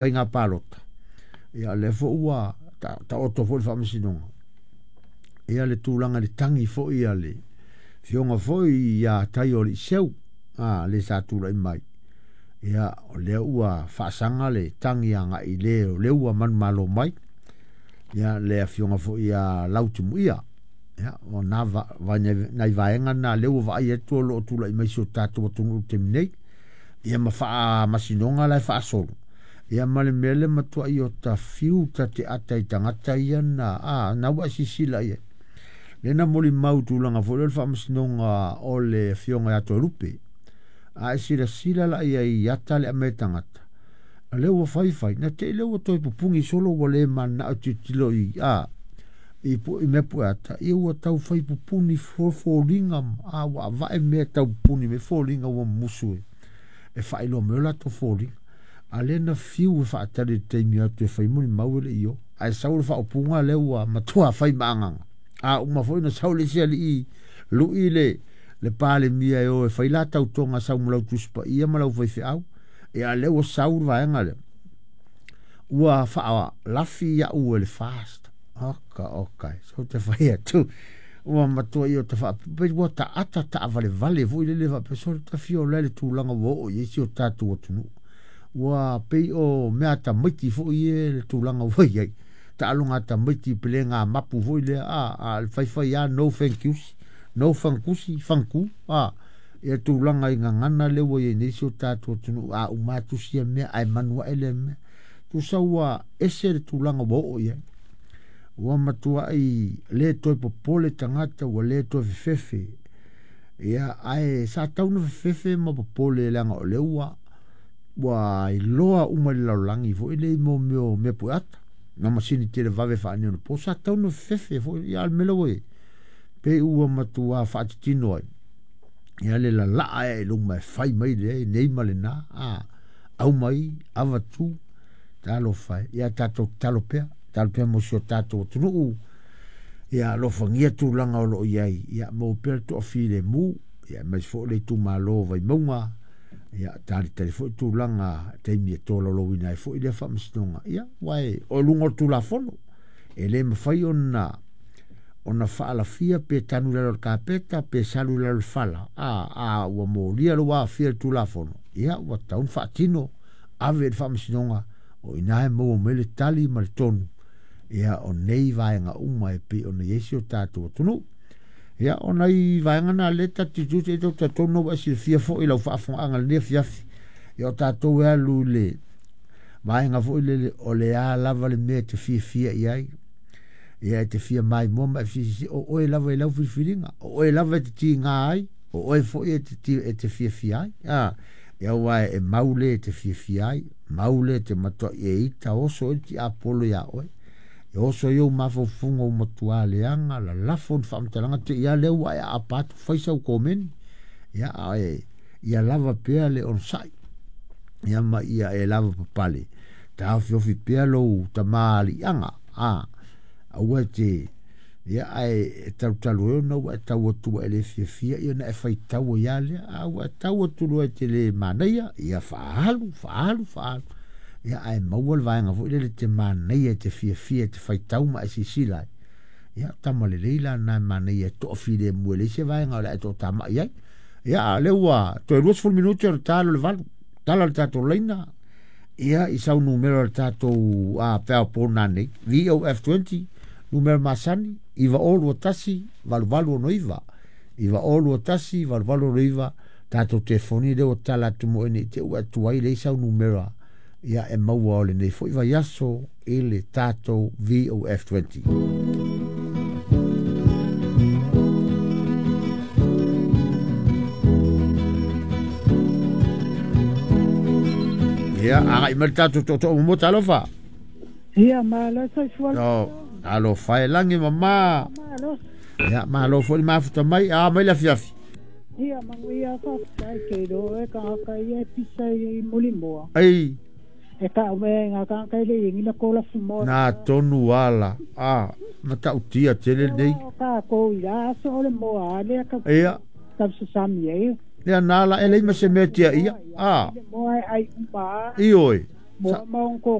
Faiga palota, ia lea foi ua taoto foi le faamasinoga. Ia le tulaga i le tagi foi a le afioga foi ia Taioaliiseu, le sa tulai mai. Ia o lea ua faasaga le tagi agai i le o lea ua manumalo mai. Ia le afioga foi ia Lautimuia. Ia o na nai vaega na lea ua vaai atu o lo o tulai mai si o tatou atunuu i le taimi nei. Ia ma faamasinoga la e faasolo. Ia ma le mea le matuai o ta fiu ta te ata i tagata ia na na ua e silasila i ai. Lea na molimau i tulaga foi lea o le faamasinoga o le afioga ia Toelupe. A e silasila la i ai i ata le aumai e tagata, o lea ua fai fai, na te i lea ua toe pupuni solo ua le mananao e tilotilo i i mea pueata, ia ua tau fai pupuni foliga, ua avae mea tau pupuni mai foliga ua mumusu e faailoa mai o latou foliga. A lea na fiu e faatali i le taimi atu e fai molimau e le i o. Ae sau le faaupuga lea ua matua fai ma agaga. A uma foi na sau le isi alii lui le Palemia e o e fai la tautoga sau ma lau Tusi Paia ma lau faifeau. Ia lea ua sau le vaega lea. Ua faalafi au e le FAST. Oka, oka, so te fai atu. Ua matua ia ta faapipi, ua taata taavalevale foi lele faapea so ta fia ola i le tulaga ua oo i ai si o tatou atunuu. Ua pei o mea tamaiti foi e le tulaga ua i ai. Taaloga tamaiti pele ngā mapu foi lea, a faifai a no thank yous, no fankusi, fanku, ia tulaga i gagana lea ua i ai nei si o tatou atunuu, a uma atu sia mea, ae manu ae lea mea. Tusa ua ese le tulaga ua oo i ai. Ua matuai le toe popole tagata, ua le toe fefefe. Ia, ae sa tau na fefefe ma popole leaga o lea ua iloa uma i le lalolagi foi le mo mea o mea pueata. Na masini televave faaneionapo sa tau na fefefe foi ia le mea lea ua i ai. Pei ua matua faatitino ai. Ia le lalaa e luma e fai mai le nei ma le na, aumai, avatu, talofa e. Ia tatou tatalo pea, tatalo pea mo si o tatou atunuu. Ia alofagia tulaga o lo o i ai, ia maua pea le toafilemu, ia aemaise foi le itumalo o Vaimauga. Ia talitali foi tulaga taimi e tolaulauina ai foi lea faamasinoga. Ia aua o luga o le Tulafono, e le mafai ona faalafia pe tanu i lalo o le kapeta pe salu i lalo o le fala. Ua molia lou aafia i le Tulafono, ia ua tatau ona faatino, ave i le faamasinoga, o i ina e maua mai le tali ma le tonu, ia o nei vaega uma e pei ona i ai si o tatou atunuu. Ia o nai vaega na lea ta te tilotilo i ai, talitonu na ua e silafia foi i lau faafofogaaga i lenei afiafi. Ia o tatou e alu i le vaega foi lele o le a lava le mea e te fiafia i ai. Ia e te fia maimoa ma e fia o oe lava i lau filifiliga, o oe lava e te tiga ai, o oe foi e te fiafia ai. Ia aua e mau le e te fiafia ai, mau le te matuai e ita oso e le tiapolo ia oe. E oso i ou mafaufauga ua matua leaga, lalafo ni faamatalaga te i a lea ua e aapa atu fai sau komeni. Ia, ae ia lava pea le onosai. Ia ma ia e lava papale. Taofiofi pea lou tamāliʻaga. Aua e te, ia ae e talutalu ai ona ua e tau atu ua e le fiafia, ia na e faitau ai lava lea. A ua e tau atu loa e te le manaia, ia faaalu, faaalu, faaalu. Ia ae maua le vaega foi lele te manaia, e te fiafia, e te faitau ma e silasila ai. Ia tama lelei la na e manaia e toafilemu e leai se vaega o le a e toatamai ai. Ia a lea ua toe 20 minute o le talo le 8. Tala le tatou laina. Ia i sau numera o le tatou peao pona nei. VOF20, numera masani, 902 8869. 902 8869. Tatou telefoni lea ua tala atu mo e nei te ua atu ai leai sau numera. Ia e maua o lenei foi vaiaso i le tatou VOF20. Ia, agai mai le tatou tootoo momoa, talofa. Ia, malo soifua. No, alofa e lagi mama. Malo. Ia, malo foi le mafuta mai, a mai le afiafi. Ia, manuia faafetai ke iloa e tagata ia e pisa i mulimoa. Ei. E tau mea i ngā tagata e le iengi na kola fumoa. Nā tonu ala, matautia tele nei. O tākou i la aso o le moa a lea ka Ia. tau sasami ai. Ia nā la e lei ma se mea tia ia. Le moa e ai uma. I oi. Mo ma on ko.